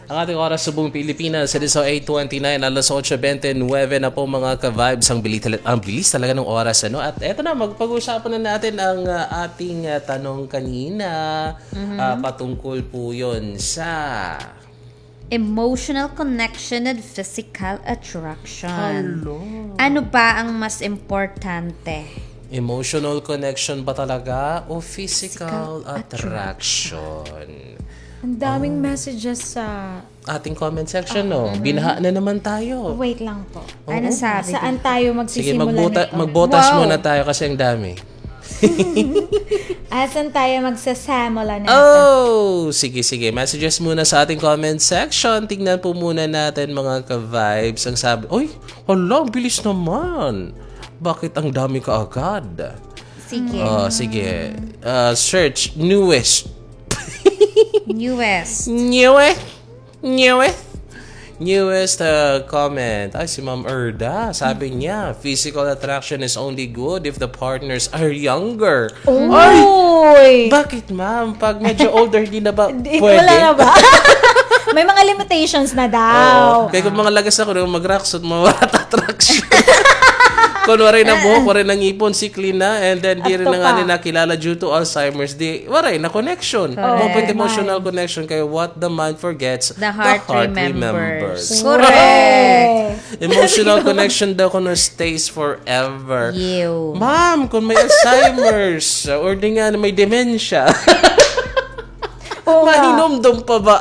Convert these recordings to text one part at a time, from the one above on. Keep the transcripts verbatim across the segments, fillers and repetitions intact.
Ang ating oras sa buong Pilipinas, it is eight twenty-nine, alas otso bente nuwebe na po, mga ka-vibes. Ang bilis, tala- ang bilis talaga ng oras, ano? At eto na, magpag-usapan na natin ang ah, ating ah, tanong kanina. Ah, patungkol po yon sa Emotional connection and physical attraction. Hello. Ano ba ang mas importante? Emotional connection ba talaga o physical attraction? Ang daming messages sa ating comment section, no? Binaha na naman tayo. Wait lang po. Oo. Ano sabi? Saan tayo magsisimula nito? Sige, magbotas muna tayo kasi ang dami. Asan tayo magsasamula nito? Oh, sige, sige. Messages muna sa ating comment section. Tingnan po muna natin, mga ka-vibes. Ang sabi, oy, hala, ang bilis naman. Bakit ang dami kaagad? Sige. Ah, sige. Ah, search, newest. Newest. Newest. Newest. Newest uh, comment. Ay, si Ma'am Erda. Sabi niya, physical attraction is only good if the partners are younger. Ay! Bakit, ma'am? Pag medyo older, hindi na ba pwede? Wala na ba? May mga limitations na daw. Kaya kung mga lagas ako, nung mag-rocksot, mawala attraction. Kung waray na buhok, waray na ngipon, sikli na, and then di rin na nga nila kilala due to Alzheimer's, di, waray na connection. Correct. Open emotional connection kay what the mind forgets, the heart remembers. Correct. Emotional connection daw kuno stays forever. Ma'am, kung may Alzheimer's, or di nga may dementia, mahinumdom pa ba?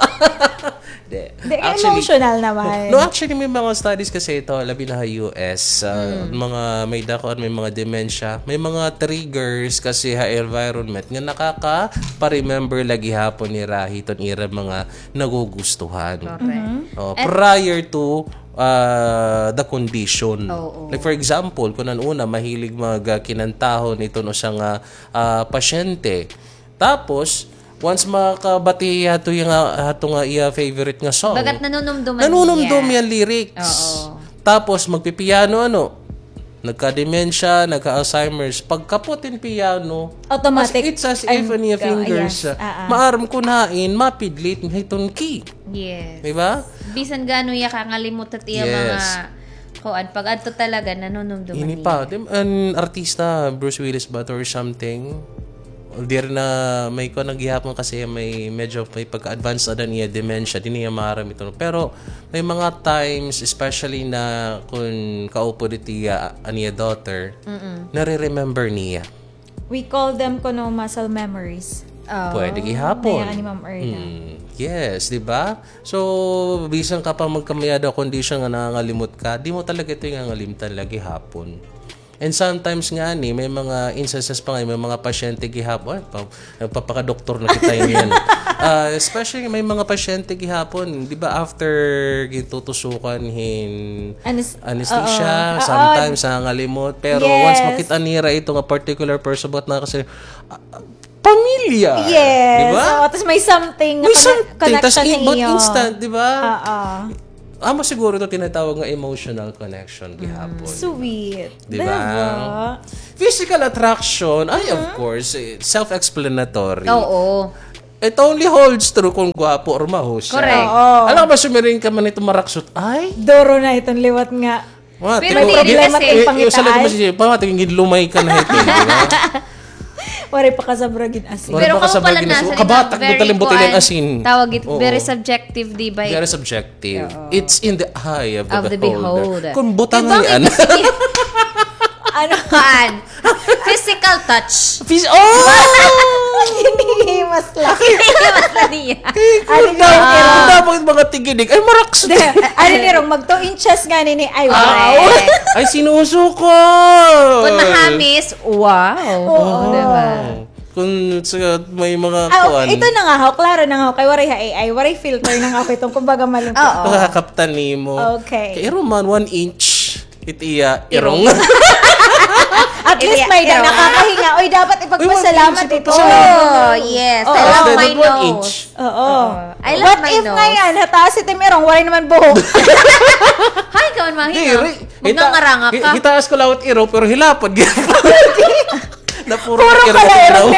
Di. Di, emotional naman. No, actually, may mga studies kasi ito, labi na ha U S, ah, mga may dako, may mga dementia, may mga triggers kasi ha environment nga nakaka-remember lagi hapon nira hiton ira mga nagugustuhan. Correct. Oh, prior to ah, the condition. Oo. Like, for example, kun an una, mahilig mag, ah, kinantahon iton usa nga, ah, pasyente. Tapos, once makabati hato nga, hato nga iya favorite nga song, bagat nanunumduman niya. Nanunumdom iya lyrics. Oo. Tapos, magpipiano, ano, nagka-dementia, nagka-Alzheimer's. Pagkapot hin piano, automatic, it's as if an iya fingers, ah, maaram kun hain, mapidlit hiton key. Yes. Di ba? Bisan gaano iya kangalimot it iya mga kuan, pag adto talaga, nanunumduman niya. Ini pa, di, an artista, Bruce Willis ba to or something? Diri na, may kuan na gihapon kasi may medyo may pagka-advance na an iya dementia, di niya maaram ito. Pero may mga times, especially na kun kaupod it iya, an iya daughter, nare-remember niya. We call them kuno muscle memories. Pwede gihapon. Naya ni Ma'am Erna. Yes, di ba? So, bisan ka pa magkamayada condition nga nangangalimot ka, di mo talaga ito ngangalimtan lagi hapon. And sometimes ngani, may mga instances pa nga, may mga pasyente gihapon, ay, pa, nagpapakadoktor na kita niyan. Ah, especially may mga pasyente gihapon, di ba, after gitutusukan hin anesthesia, sometimes nangangalimot. Pero once makita nira ito nga particular person, buhat na kasi, ah, pamilya. Yes. Di ba? Oo, tas may something, may something, connection na iyo. Instant, di ba? Oo. Amo siguro ito tinatawag nga emotional connection gihapon. Sweet. Di ba? Physical attraction, ay, of course, eh, self-explanatory. Oo. It only holds true kung gwapo or maho siya. Correct. Oo. Alam ka ba, sumiring ka man ito maraksot, ay? Duro na iton liwat nga. Pero may problema it pangitaay. Pamati, gid lumay ka na hito, di ba? Waray pa kasabra gin asin. Pero kamo pala nasa kabatak, very kuan, tawag it, very subjective, di ba? Very subjective. It's in the eye of the beholder. Kun butangan niyan. Ano? Kuan. Physical touch. Phys-, oh! Hinihimas la. Hinihimas la niya. Ano dapat mga tigidig? Ay, maraks. Ano ni Rong, mag two inches nga nini. Ay, wow. Ay, sinusuko. Kun mahamis, wow. Oo. Di ba? Kun sa may mga kuan. Ito na nga ho, klaro na nga ho, kay waray ha A I, waray filter na nga ho, itong kumbaga malimpyo. Oo. Nakakaptan nimo. Okay. Kay Roman, one inch. It iya irong. At least may da nakakahinga. Oy, dapat ipagpasalamat ito. Oh, yes. I love my nose. Oo. I love my nose. What if ngayon, hataas it im irong, waray naman buhok? Hay, kaon mahina. Magngangaranga ka. Hitaas ko lawat irong, pero hilapad. Napuro ka la irong.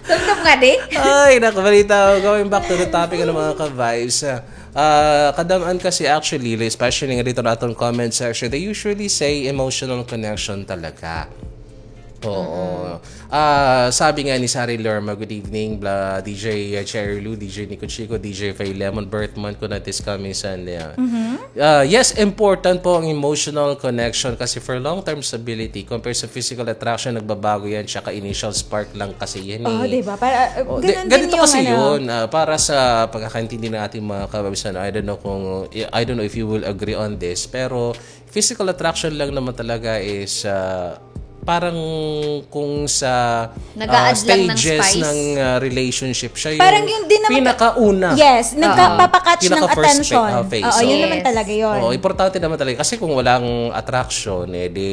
Tumtum nga di. Ay, naku, balita ko. Going back to the topic, ano, mga ka-vibes, ah, ah, kadam-an kasi actually, especially nga dito na atong comment section, they usually say emotional connection talaga. Oo. Ah, sabi nga ni Sari Lerma, "Good evening, bla, D J Cherry Lou, D J Nico Chico, D J Faye Lemon, birthmonth ko na this coming Sunday." Ah, yes, important po ang emotional connection kasi for long-term stability, compared sa physical attraction, nagbabago yan, tsaka initial spark lang kasi yan eh. Oo, di ba? Para, uh, Oh, di- ganun din ganito yung kasi ano. Yun, ah, para sa pagkakaintindi ng ating mga kababs, ano, I don't know kung, I don't know if you will agree on this, pero physical attraction lang naman talaga is, ah, parang kung sa, ah, Nag-a-add lang ng stages spice. Ng, ah, relationship, siya yung Parang yung din naman pinakauna. Yes, Ah, nagpapakatch ng pinaka-first attention. Fa-, ah, phase, Oo, yun oo. Naman Yes. talaga yun. Oo, importante naman talaga. Kasi kung walang attraction, eh, di,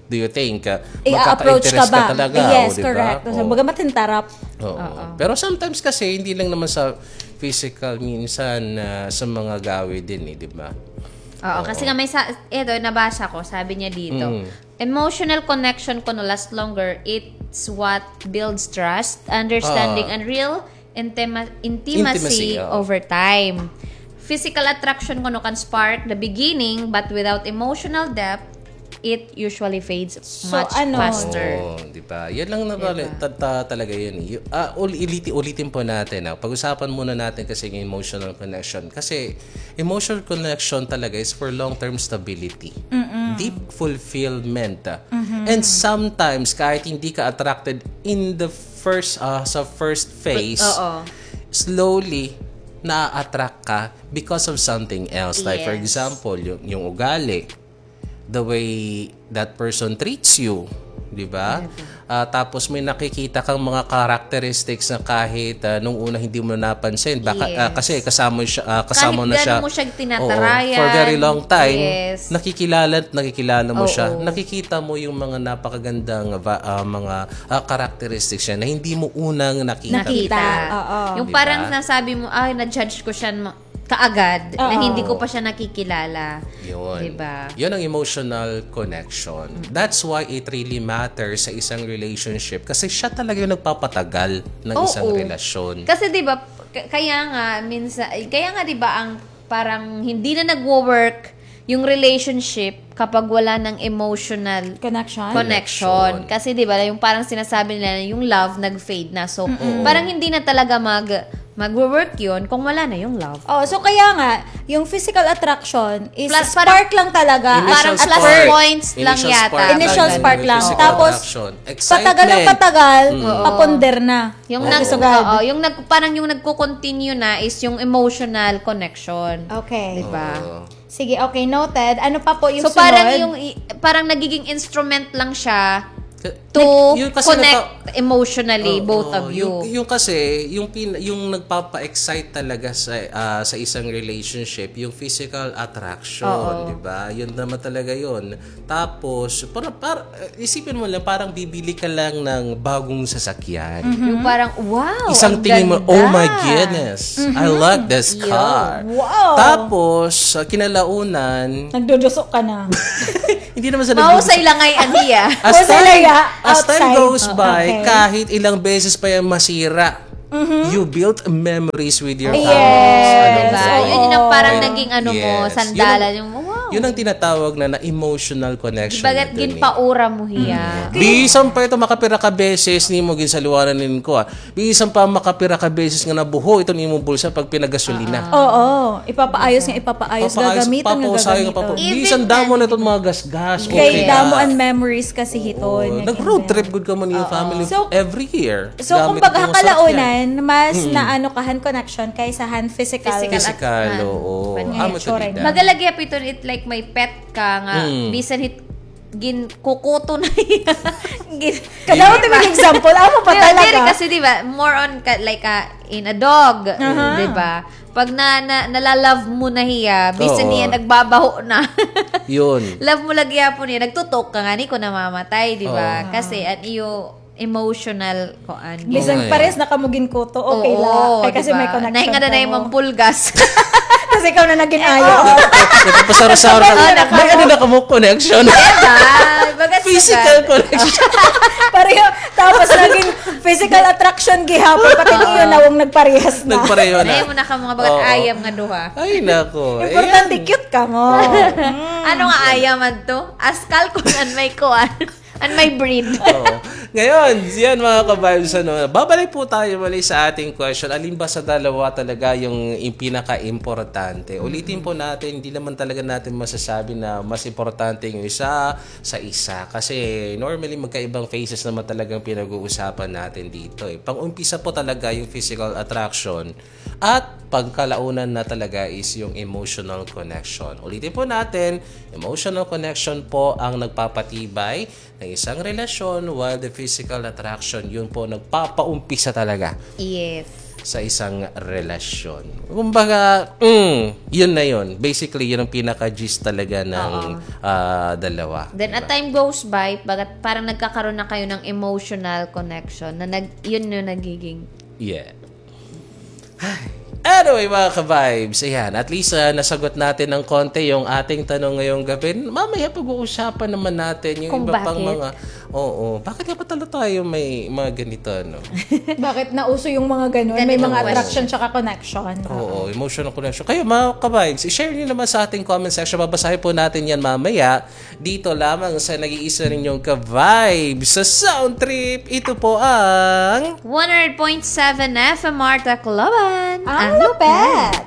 do you think, ah, I-approach ka magkaka-interest ka ba? Talaga, Yes, o, di ba? Correct. So, Oo. Baga matintarap. Oo. Oo. Pero sometimes kasi, hindi lang naman sa physical, minsan, ah, sa mga gawi din, eh, di ba? Oo, Oo. Kasi nga may sa, eto, nabasa ko, sabi niya dito, Mm. emotional connection kuno last longer, it's what builds trust, understanding, Ah. and real intima-, intimacy Intimacy, oo. over time. Physical attraction kuno can spark the beginning, but without emotional depth, it usually fades So, much ano? faster. Oo, di ba? Yan lang na Di ba? ta-, ta-, talaga yun eh. Y-, ah, ul-, iliti-, ulitin po natin, ah. Pag-usapan muna natin kasi yung emotional connection. Kasi emotional connection talaga is for long-term stability. Mm-mm. Deep fulfillment, ah. Mm-hmm. And sometimes, kahit hindi ka attracted in the first, ah, sa first phase, Oo. slowly, na-attract ka because of something else. Like, for Yes. example, yung, yung ugali, the way that person treats you, di ba? Di ba? Ah, tapos may nakikita kang mga characteristics na kahit, ah, nung una hindi mo napansin. Baka, ah, Yes. kasi kasama siya, ah, kasama Kahit na siya. Gaano mo siya tinatarayan. Oo, for very long time, Yes. nakikilala at nakikilala mo siya. Oo. Nakikita mo yung mga napakagandang va-, ah, mga, ah, characteristics niya na hindi mo unang nakita. Nakita. Oo. Yung Di ba? Parang nasabi mo, "Ay, na-judge ko siya ma-, kaagad na Oo. hindi ko pa siya nakikilala." Yun. Di ba? Yun ang emotional connection. Mm. That's why it really matters sa isang relationship kasi siya talaga yung nagpapatagal ng Oo. isang relasyon. Kasi di ba, k-, kaya nga, minsan, kaya nga di ba ang parang hindi na nagwo-work yung relationship kapag wala ng emotional Connection. Connection. Connection. Kasi di ba, yung parang sinasabi nila na yung love nag-fade na. So, Mm-mm. parang hindi na talaga mag-, magwo-work yun kung wala na yung love. Oh, so kaya nga, yung physical attraction is Plus, spark parang lang talaga. Initial Parang plus spark. points lang Initial yata. spark Initial lang spark ng lang. physical Tapos, attraction. Patagal ng Excitement. patagal, Mm. Oo. papunder na. Yung Oo. nag-, Kasugad. oo, yung nag-, parang yung nagko-continue na is yung emotional connection. Okay. Di ba? Oo. Sige, okay, noted. Ano pa po yung So, parang sunod? yung i-, parang nagiging instrument lang siya Ka-, to nag-, yun kasi connect nagpa-, emotionally, Oo, both of you. Yung, yung kasi, yung pin-, yung nagpapa-excite talaga sa, ah, sa isang relationship, yung physical attraction, Oo. di ba? Yun naman talaga yun. Tapos, para, para, isipin mo lang, parang bibili ka lang ng bagong sasakyan. Mhm. Yung parang, "Wow, Isang ang tingin mo, ganda." "Oh my goodness, I Mhm. like this Yo. car." Wow. Tapos, sa kinalaunan, Nagduduso ka na. Hindi naman sa Mahusay nagduduso. lang ay aniya. As Mahusay time, lang ya, as time outside. goes by, Okay. kahit ilang beses pa yan masira, Mhm. you build memories with your Yes. family. Ano Diba? ba? Yun yung Oo. parang naging ano mo, Yes. sandalan Yun ang, yung, wow. yun ang tinatawag na, na emotional connection Diba, na dun eh. ginpaura mo hiya? Mm. Bisan pa ito makapira ka beses, nimo ginsaluwanan nin ko, ah. Bisan pa makapira ka beses nga nabuho iton imong bulsa pag pinagasolina. Oo. Ipapaayos nga ipapaayos, Papaayos, gagamiton nga papausayon nga gagamiton. papu-, Even bisan damo na anything. Iton mga gasgas, Kay okay na. damo an memories kasi Oo. hiton nga Nag-road ganda. trip gud kamo niyo Oo. family So, every year. So, Gamit kumbaga, ko ha sa kalaunan, sakyan. mas Mm. naano ka han connection kaysa han physical. Physical Physical, at-, oo. Pan-, Amo to itsura di niya. da. Baga lagi, Piton, it like may pet ka nga, Mm. bisan hit, ginkukuto na hiya. Gin-, Kadawat di ba? Yung example, amo pa Di ba, talaga. Diri kasi, di ba, more on ka, like, ah, in a dog, Aha. di ba? Pag na, na, nala-love mo na hiya, bisan Oo. niya nagbabaho na. Yun. Love mo lagi yapon niya, nagtutok ka nga ni kung namamatay, di ba? Oo. Kasi an iyo emotional, kuan. Bisan Oo. pares na kamo ginkuto, okay Oo, la. Kay kasi di ba? may connection Nahinga na na kamo. Yung mga pulgas. Kasi ikaw na naging Eh, ayo. oo. Napapasaro-saro na. Oo, napa- May ano na kamo connection. Di ba? Baga Physical connection. Pareho. Tapos naging physical attraction gihapon. Pati niyo nawong nagparehas na. Nagpareho na. Ay, mo na ka mga bagat ayam nga duha. Ay, nako. Importante, cute ka mo. Ano nga ayam adto? Askal kun an may kuan. An may breed. Oo. Ngayon, yan mga ka-vibes, ano, babalik po tayo muli sa ating question. Alin ba sa dalawa talaga yung, yung pinaka-importante? Ulitin po natin, hindi naman talaga natin masasabi na mas importante yung isa sa isa. Kasi normally, magkaibang phases naman talagang pinag-uusapan natin dito, eh. Pang-umpisa po talaga yung physical attraction at pagkalaunan na talaga is yung emotional connection. Ulitin po natin, emotional connection po ang nagpapatibay ng isang relasyon, while the physical attraction, yun po nagpapaumpisa talaga Yes. sa isang relasyon. Kumbaga, mm, yun na yun. Basically, yun ang pinaka-gist talaga ng, Oo. ah, dalawa. Then, as Diba? time goes by, bagat parang nagkakaroon na kayo ng emotional connection na nag, yun yung nagiging Yeah. Anyway, mga ka-vibes, ayan, at least, ah, nasagot natin ng konti yung ating tanong ngayong gabi. Mamaya pag-uusapan naman natin yung Kung iba pang bakit. mga, oo, bakit nga ba talaga tayo may mga ganito, no? Bakit nauso yung mga ganun? May Ganito mga ba? attraction tsaka connection. Oo, emotional connection. Kayo, mga ka-vibes, i-share niyo naman sa ating comment section. Babasahin po natin yan mamaya. Dito lamang sa nag-iisa ninyong ka-vibes sa Sound Trip. Ito po ang one hundred point seven F M R Tacloban. Ang Ang lupet!